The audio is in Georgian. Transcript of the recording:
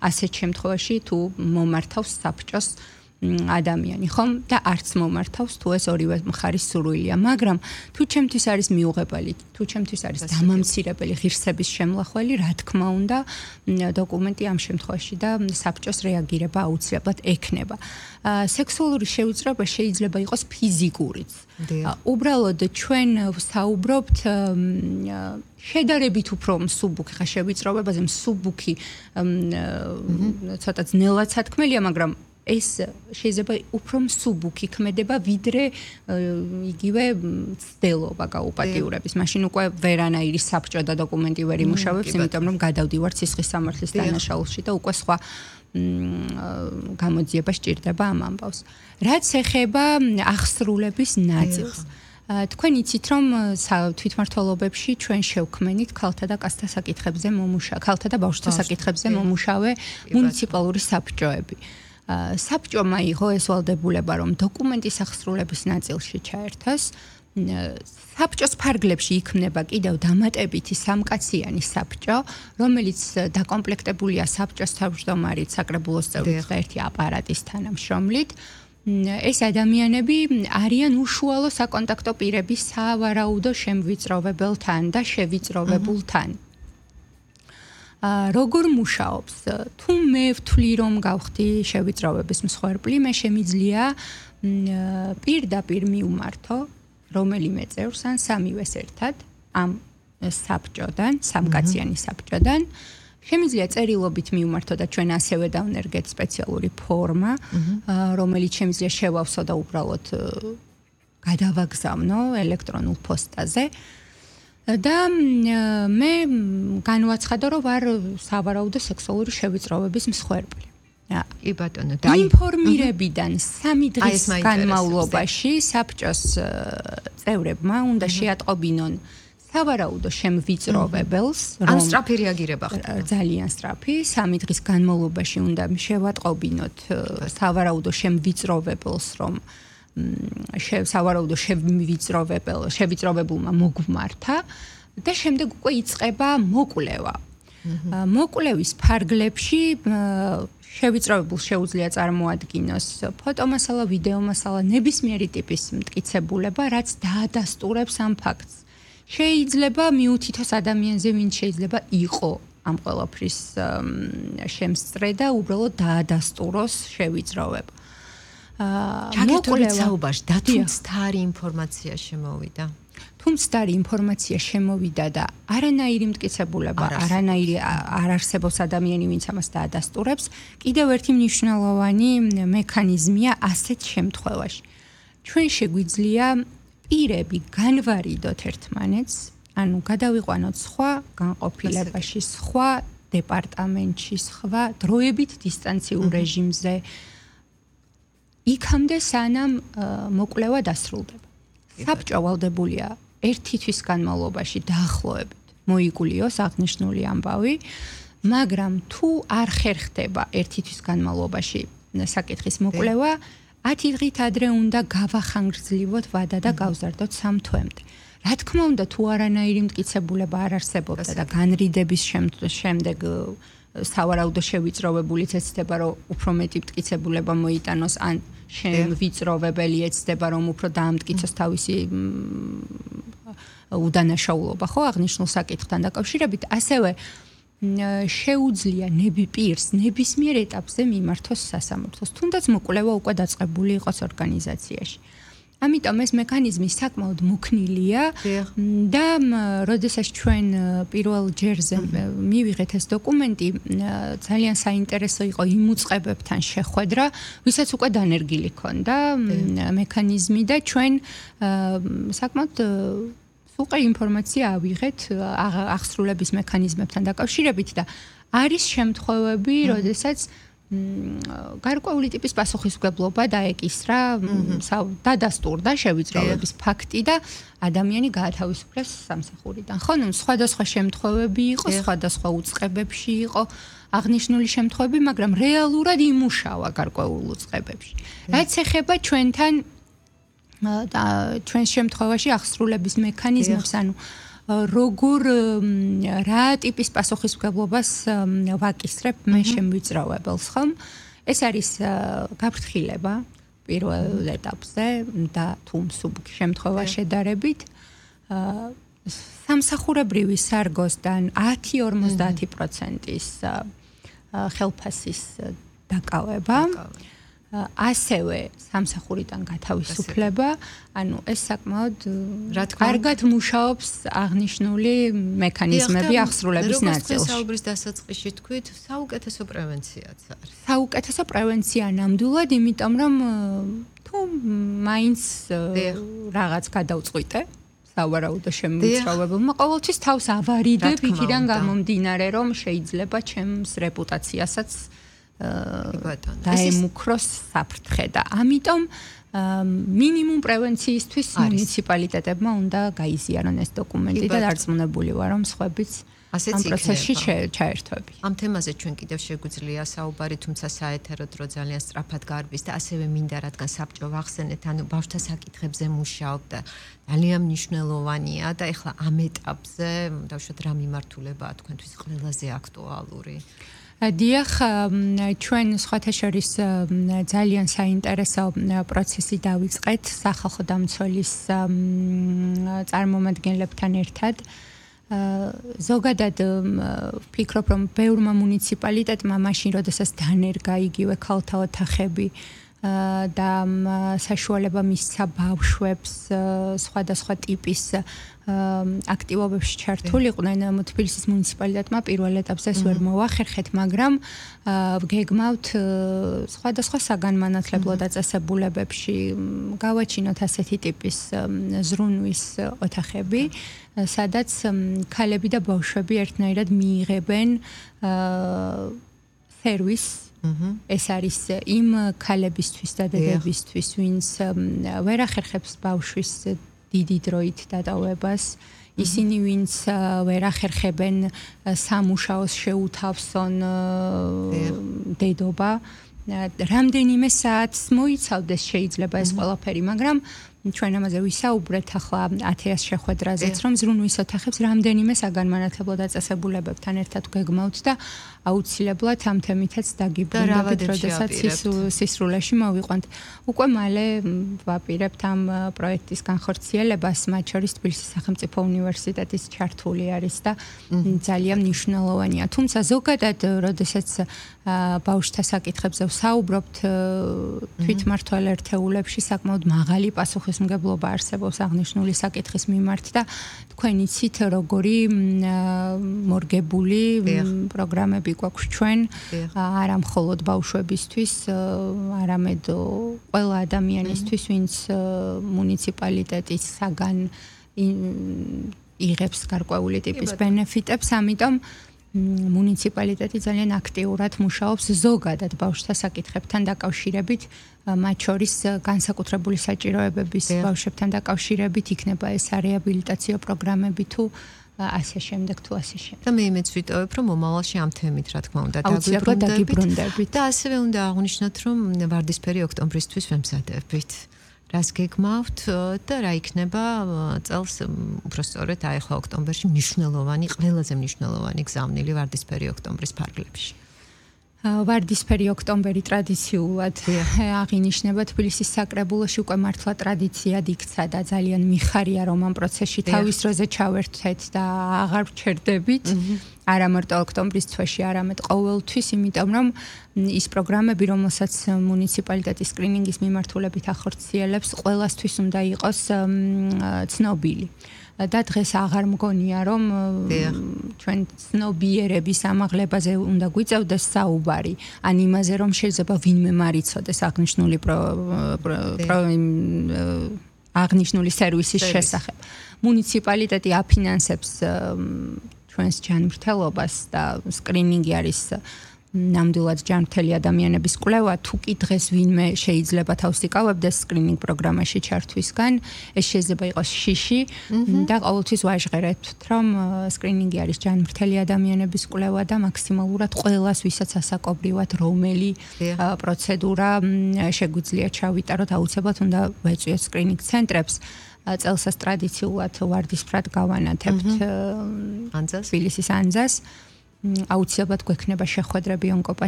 ასეთ შემთხვევაში თუ მომართავს საბჭოს ადამიანი, ხომ? და არც მომართავს თუ ეს ორივე მხარის სურვილია, მაგრამ თუ ჩემთვის არის მიუღებელი, თუ ჩემთვის არის დამამცირებელი ღირსების შემლახველი, რა თქმა უნდა, დოკუმენტი ამ შემთხვევაში და საბჭოს რეაგირება აუცილებლად ექნება. სექსუალური შევიწროება შეიძლება იყოს ფიზიკურიც. უბრალოდ ჩვენ ვსაუბრობთ შედარებით უფრო მსუბუქი ხა შევიწროებაზე, მსუბუქი ცოტა ძნელად სათქმელია, მაგრამ ეს შეიძლება უფრო მსუბუქი ქმედება, ვიდრე იგივე ცდელობა გაუპატიურების. მაშინ უკვე ვერანაირი საბჭო და დოკუმენტი ვერ იმუშავებს, იმიტომ რომ გადავდივართ სისხლის სამართლის დანაშაულში და უკვე სხვა გამოძიება სჭირდება ამ ამბავს. რაც ეხება აღსრულების ნაწილს. თქვენ იცით რომ თვითმმართველობებში ჩვენ შევქმნით ქალთა და კაცთა საკითხებზე ქალთა და ბავშვთა საკითხებზე მომუშავე მუნიციპალური საბჭოები. საბჭომ აიღო ეს ვალდებულება, რომ დოკუმენტის აღსრულების ნაწილში ჩაერთოს. საბჭოს ფარგლებში იქმნება კიდევ დამატებითი სამკაციანი საბჭო, რომელიც დაკომპლექტებულია საბჭოს თავმჯდომარით, საკრებულოს წევრით და ერთი აპარატის თანამშრომლით. ეს ადამიანები არიან უშუალო საკონტაქტო პირები სავარაუდო შემვიწროვებელთან და შევიწროვებულთან. როგორ მუშაობს? თუ მე ვთვლი რომ გავხდი შევიწროვების მსხვერპლი, მე შემიძლია პირდაპირ მივმართო რომელიმე წევრს ან სამივეს ერთად ამ საბჭოდან, სამკაციანი საბჭოდან. შემიძლია წერილობით მივმართო და ჩვენ ასევე დავნერგეთ სპეციალური ფორმა, რომელიც შემიძლია შევავსო და უბრალოდ გადავაგზავნო ელექტრონულ პოსტაზე. და მე განვაცხადო, რომ ვარ სავარაუდო სექსუალური შევიწროვების მსხვერპლი. კი ბატონო, და ინფორმირებიდან 3 დღის განმავლობაში საბჭოს წევრებმა უნდა შეატყობინონ სავარაუდო შემვიწროვებელს, რომ სწრაფი რეაგირება ხდება. ძალიან სწრაფი, 3 დღის განმავლობაში უნდა შევატყობინოთ სავარაუდო შემვიწროვებელს, რომ სავარაუდო შევიწროვებულმა მოგვმართა და შემდეგ უკვე იწყება მოკვლევა. მოკვლევის ფარგლებში შევიწროვებულს შეუძლია წარმოადგინოს ფოტომასალა, ვიდეომასალა, ნებისმიერი ტიპის მტკიცებულება, რაც დაადასტურებს ამ ფაქტს. შეიძლება მიუთითოს ადამიანზე, ვინც შეიძლება იყო ამ ყველაფრის შემსწრე და უბრალოდ დაადასტუროს შევიწროვება. მოკვლევაში დათუმცდარი ინფორმაცია შემოვიდა. თუმცდარი ინფორმაცია შემოვიდა და არანაირი მტკიცებულება, არანაირი არ არსებობს ადამიანი, ვინც ამას დაადასტურებს. კიდევ ერთი მნიშვნელოვანი მექანიზმია ასეთ შემთხვევაში. ჩვენ შეგვიძლია პირები განვარიდოთ ერთმანეთს, ანუ გადავიყვანოთ სხვა განყოფილებაში, სხვა დეპარტამენტში, სხვა დროებით დისტანციურ რეჟიმზე. იქამდე სანამ მოკვლევა დასრულდება. საბჭო ვალდებულია ერთი თვის განმავლობაში დაახლოებით მოიგულიოს აღნიშნული ამბავი, მაგრამ თუ არ ხერხდება ერთი თვის განმავლობაში საკითხის მოკვლევა, 10 დღით ადრე უნდა გავახანგრძლივოთ ვადა და გავზარდოთ 3 თვემდე. რა თქმა უნდა, თუ არანაირი მტკიცებულება არ არსებობდა და განრიდების შემდეგ სავარაუდო შევიწროვებულიც ეცდება, რომ უფრო მეტი მტკიცებულება მოიტანოს, ან შემვიწროვებელი ეცდება, რომ უფრო დაამტკიცოს თავისი უდანაშაულობა, ხო, აღნიშნულ საკითხთან დაკავშირებით, ასევე შეუძლია პირს ნებისმიერ ეტაპზე მიმართოს სასამართლოს, თუნდაც მოკვლევა უკვე დაწყებული იყოს ორგანიზაციაში. ამიტომ ეს მექანიზმი საკმაოდ მოქნილია და როდესაც ჩვენ პირველ ჯერზე მივიღეთ ეს დოკუმენტი, ძალიან საინტერესო იყო იმ უწყებებთან შეხვედრა, ვისაც უკვე დანერგილი ჰქონდა მექანიზმი და ჩვენ საკმაოდ სუყე ინფორმაცია ავიღეთ აღსრულების მექანიზმებთან დაკავშირებით და არის შემთხვევები, როდესაც გარკვეული ტიპის პასუხისმგებლობა დაეკისრა, დადასტურდა შევიწროვების ფაქტი და ადამიანი გაათავისუფლეს სამსახურიდან. ხო, სხვადასხვა შემთხვევები იყო, სხვადასხვა უწყებებში იყო აღნიშნული შემთხვევები, მაგრამ რეალურად იმუშავა გარკვეულ უწყებებში. რაც ეხება ჩვენთან და ჩვენს შემთხვევაში აღსრულების მექანიზმებს, ანუ როგორ რა ტიპის პასუხისმგებლობას ვაკისრებ მე შემვიწროვებელს, ხომ? ეს არის გაფრთხილება პირველ ეტაპზე და თუ მსუბუქ შემთხვევა შედარებით სამსახურებრივი სარგოსთან 10-50%-ის ხელფასის დაკავება, ასევე სამსახურიდან გათავისუფლება, ანუ ეს საკმაოდ კარგად მუშაობს აღნიშნული მექანიზმები აღსრულების ნაწილში. როგორც საუბრის დასაწყისში თქვით, საუკეთესო პრევენციაც არის. საუკეთესო პრევენცია ნამდვილად, იმიტომ რომ თუ მაინც რაღაც გადავწყვიტე სავარაუდო შემოწმებულმა ყოველთვის თავს ავარიდებ იქიდან გამომდინარე რომ შეიძლება ჩემს რეპუტაციასაც დაემუქროს საფრთხე და ამიტომ მინიმუმ პრევენციისთვის მუნიციპალიტეტებმა უნდა გაიზიარონ ეს დოკუმენტი და დარწმუნებული ვარ რომ სხვაებიც ამ პროცესში ჩაერთვები. ამ თემაზე ჩვენ კიდევ შეგვიძლია საუბარი, თუმცა საეთერო დრო ძალიან სწრაფად გარბის და ასევე მინდა რადგან საბჭო ვახსენეთ, ანუ ბავშვთა საკითხებზე მუშაობ და ძალიან მნიშვნელოვანია და ეხლა ამ ეტაპზე დავუშვათ რა მიმართულებაა თქვენთვის ყველაზე აქტუალური. დიახ, ჩვენ სხვათა შორის ძალიან საინტერესო პროცესი დავიწყეთ სახალხო დამცველის წარმომადგენლებთან ერთად. ზოგადად ვფიქრობ, რომ ბევრმა მუნიციპალიტეტმა მაშინ, როდესაც დანერგა იგივე ქალთა ოთახები და საშუალება მისცა ბავშვებს სხვადასხვა ტიპის აქტივობებში ჩართულიყვნენ, თბილისის მუნიციპალიტეტმა პირველ ეტაპზე ეს ვერ მოახერხეთ, მაგრამ ვგეგმავთ სხვადასხვა საგანმანათლებლო დაწესებულებებში გავაჩინოთ ასეთი ტიპის ზრუნვის ოთახები, სადაც ქალები და ბავშვები ერთნაირად მიიღებენ სერვისს. ეს არის იმ ქალებისთვის და დედებისთვის, ვინც ვერ ახერხებს ბავშვის დიდი დროით დატოვებას, ისინი ვინც ვერ ახერხებენ სამუშაოს შეუთავსონ დედობა, რამდენიმე საათს მოიცავდეს შეიძლება ეს ყველაფერი, მაგრამ ჩვენ ამაზე ვისაუბრეთ ახლა ათეას შეხვედრაზეც, რომ ზრუნვის ოთახებს რამდენიმე საგანმანათლებლო დაწესებულებებთან ერთად გეგმავთ და აუცილებლად ამ თემითაც დაგიბრუნდებით, როდესაც სისრულეში მოვიყვანთ. უკვე მალე ვაპირებთ ამ პროექტის განხორციელებას, მათ შორის თბილისის სახელმწიფო უნივერსიტეტის ჩართული არის და ძალიან მნიშვნელოვანია. თუმცა ზოგადად, როდესაც ბავშვთა საკითხებზე ვსაუბრობთ, თვითმმართველ ერთეულებში საკმაოდ მაღალი პასუხისმგებლობა არსებობს აღნიშნული საკითხის მიმართ და თქვენ იცით როგორი მორგებული პროგრამები გვაქვს ჩვენ, არა მხოლოდ ბავშვებისთვის, არამედ ყველა ადამიანისთვის, ვინც მუნიციპალიტეტისაგან იღებს გარკვეული ტიპის ბენეფიტებს, ამიტომ მუნიციპალიტეტი ძალიან აქტიურად მუშაობს ზოგადად ბავშვთა საკითხებთან დაკავშირებით, მათ შორის განსაკუთრებული საჭიროებების ბავშვებთან დაკავშირებით იქნება ეს რეაბილიტაციო პროგრამები თუ ასე შემდეგ თუ ასე შემდეგ. და მე იმეც ვიტოვებ, რომ მომავალში ამ თემით რა თქმა უნდა დაგვიბრუნდებით და ასევე უნდა აღვნიშნოთ, რომ ვარდისფერი ოქტომბრისთვის ვემზადებით. რას გეგმავთ და რა იქნება წელს უბრალოდ აი ახლა ოქტომბერში მნიშვნელოვანი, ყველაზე მნიშვნელოვანი გზავნილი ვარდისფერი ოქტომბრის ფარგლებში. ვარდისფერი ოქტომბერი ტრადიციულად აღინიშნება თბილისის საკრებულოში, უკვე მართლა ტრადიციად იქცა და ძალიან მიხარია რომ ამ პროცესში თავის დროზე ჩავერთეთ და აღარ ვჩერდებით. არა მარტო ოქტომბრის თვეში, არამედ ყოველთვის, იმიტომ რომ ის პროგრამები, რომელსაც მუნიციპალიტეტის სკრინინგის მიმართულებით ახორციელებს, ყველასთვის უნდა იყოს ცნობილი. და დღეს აღარ მგონია რომ ჩვენ ცნობიერების ამაღლებაზე უნდა გვიწევდეს საუბარი, ან იმაზე რომ შეიძლება ვინმე მარიცოდეს აღნიშნული სერვისის შესახებ. მუნიციპალიტეტი აფინანსებს ჩვენს ჯანმრთელობას და სკრინინგი არის ნამდვილად ჯანმრთელი ადამიანების კვლევა, თუ კი დღეს ვინმე შეიძლება თავს იკავებდეს სკრინინგ პროგრამაში ჩართვისგან, ეს შეიძლება იყოს შიში და ყოველთვის ვაჟღერებთ, რომ სკრინინგი არის ჯანმრთელი ადამიანების კვლევა და მაქსიმალურად ყველას, ვისაც ასაკობრივად რომელი პროცედურა შეგვიძლია ჩავიტაროთ, აუცილებლად უნდა ვეწვიოთ სკრინინგ ცენტრებს. წელსაც ტრადიციულად ვარდისფრად გავანათებთ ანძას. თბილისის ანძას. აუცილებლად გვექნება შეხვედრები ონკოპაციენტებთან